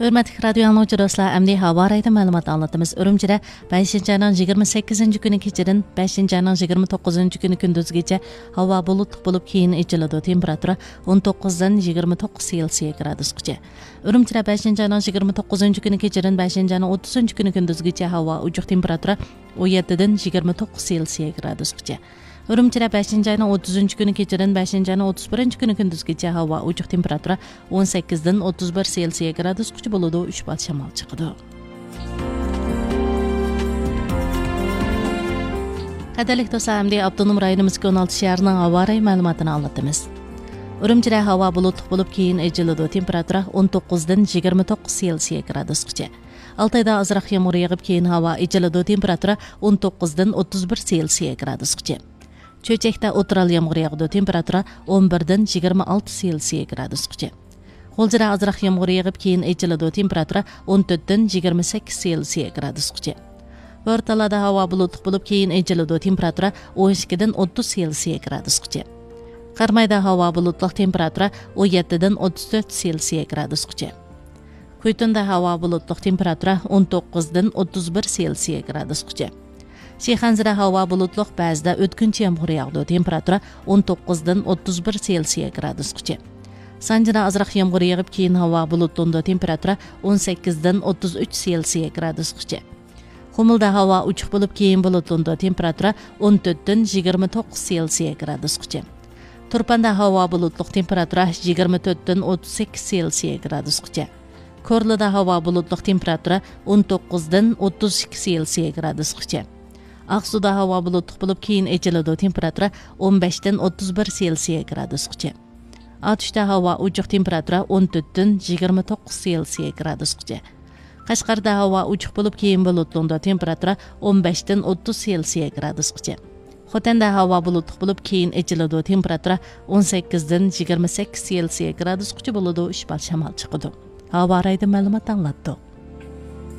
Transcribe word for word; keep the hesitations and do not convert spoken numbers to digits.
ھۆرمەتلىك رادىيو ئاڭلىغۇچى دوستلار، ئەمدى ھاۋا رايىدا مەلۇمات ئاڭلىتىمىز. ئۈرۈمچىدە بەشىنچى ئاينىڭ يىگىرمە سەككىزىنچى كۈنى كېچىدىن بەشىنچى ئاينىڭ يىگىرمە توققۇزىنچى كۈنى كۈندۈزگىچە ھاۋا بۇلۇتلۇق بولۇپ، كېيىن ئېچىلىدۇ. تېمپېراتۇرا ئون توققۇزدىن يىگىرمە توققۇز سېلسىيە گرادۇسقىچە. ئۈرۈمچىدە بەشىنچى ئاينىڭ يىگىرمە توققۇزىنچى كۈنى كېچىدىن بەشىنچى ئاينىڭ ئوتتۇزىنچى كۈنى كۈندۈزگىچە ھاۋا ئوچۇق، تېمپېراتۇرا ئون يەتتىدىن يىگىرمە توققۇز سېلسىيە گرادۇسقىچە. ئۈرۈمچىدە بەشىنچى ئاينىڭ ئوتتۇزىنچى كۈنى كېچىدىن بەشىنچى ئاينىڭ ئوتتۇز بىرىنچى كۈنى كۈندۈزگىچە ھاۋا ئوچۇق، تېمپېراتۇرا ئون سەككىزدىن ئوتتۇز بىر سېلسىيە گرادۇسقىچە بولىدۇ، ئۈچ بال شامال چىقىدۇ. قەدىرلىك دوستلار، ئەمدى ئاپتونوم رايونىمىزدىكى ئون ئالتە شەھەرنىڭ ھاۋا رايى مەلۇماتىنى ئاڭلىتىمىز. ئۈرۈمچىدە ھاۋا بۇلۇتلۇق بولۇپ، كېيىن ئېچىلىدۇ، تېمپېراتۇرا ئون توققۇزدىن يىگىرمە توققۇز سېلسىيە گرادۇسقىچە. ئالتايدا ئازراق يامغۇر يېغىپ، كېيىن ھاۋا ئېچىلىدۇ، تېمپېراتۇرا ئون توققۇزدىن ئوتتۇز بىر سېلسىيە گرادۇسقىچە. چۆچەكتە ئوتتۇرا يامغۇر ياغىدۇ، تېمپېراتۇرا ئون بىردىن يىگىرمە ئالتە سېلسىيە گرادۇسقىچە. غۇلجىدا ئازراق يامغۇر يېغىپ، كېيىن ئېچىلىدۇ، تېمپېراتۇرا ئون تۆتتىن يىگىرمە سەككىز سېلسىيە گرادۇسقىچە. بورتالادا ھاۋا بۇلۇتلۇق بولۇپ، كېيىن ئېچىلىدۇ، تېمپېراتۇرا ئون ئىككىدىن ئوتتۇز سېلسىيە گرادۇسقىچە. قەرمايدا ھاۋا بۇلۇتلۇق، تېمپېراتۇرا ئون يەتتىدىن ئوتتۇز تۆت سېلسىيە گرادۇسقىچە. كۈيتۇندا ھاۋا بۇلۇتلۇق، تېمپېراتۇرا ئون توققۇزدىن ئوتتۇز بىر سېلسىيە گرادۇسقىچە. شىخەنزىدە ھاۋا بۇلۇتلۇق، بەزىدە ئۆتكۈنچى يامغۇر ياغىدۇ، تېمپېراتۇرا ئون توققۇزدىن ئوتتۇز بىر سېلسىيە گرادۇسقىچە. سانجىدا ئازراق يامغۇر يېغىپ، كېيىن ھاۋا بۇلۇتلىنىدۇ، تېمپېراتۇرا ئون سەككىزدىن ئوتتۇز ئۈچ سېلسىيە گرادۇسقىچە. قۇمۇلدا ھاۋا ئوچۇق بولۇپ، كېيىن بۇلۇتلىنىدۇ، تېمپېراتۇرا ئون تۆتتىن يىگىرمە توققۇز سېلسىيە گرادۇسقىچە. تۇرپاندا ھاۋا بۇلۇتلۇق، تېمپېراتۇرا يىگىرمە تۆتتىن ئوتتۇز سەككىز سېلسىيە گرادۇسقىچە. كورلىدا ھاۋا بۇلۇتلۇق، تېمپېراتۇرا ئون توققۇزدىن ئوتتۇز ئىككى سېلسىيە گرادۇسقىچە. ئاقسۇدا ھاۋا بۇلۇتلۇق بولۇپ، كېيىن ئېچىلىدۇ، تېمپېراتۇرا ئون بەشتىن ئوتتۇز بىر سېلسىيە گرادۇسقىچە. ئاتۇشتا ھاۋا ئوچۇق، تېمپېراتۇرا ئون تۆتتىن يىگىرمە توققۇز سېلسىيە گرادۇسقىچە. قەشقەردە ھاۋا ئوچۇق بولۇپ، كېيىن بۇلۇتلىنىدۇ، تېمپېراتۇرا ئون بەشتىن ئوتتۇز سېلسىيە گرادۇسقىچە. خوتەندە ھاۋا بۇلۇتلۇق بولۇپ، كېيىن ئېچىلىدۇ، تېمپېراتۇرا ئون سەككىزدىن يىگىرمە سەككىز سېلسىيە گرادۇسقىچە بولىدۇ، ئۈچ بال شامال چىقىدۇ. ھاۋا رايىدىن مەلۇمات ئاڭلاتتۇق.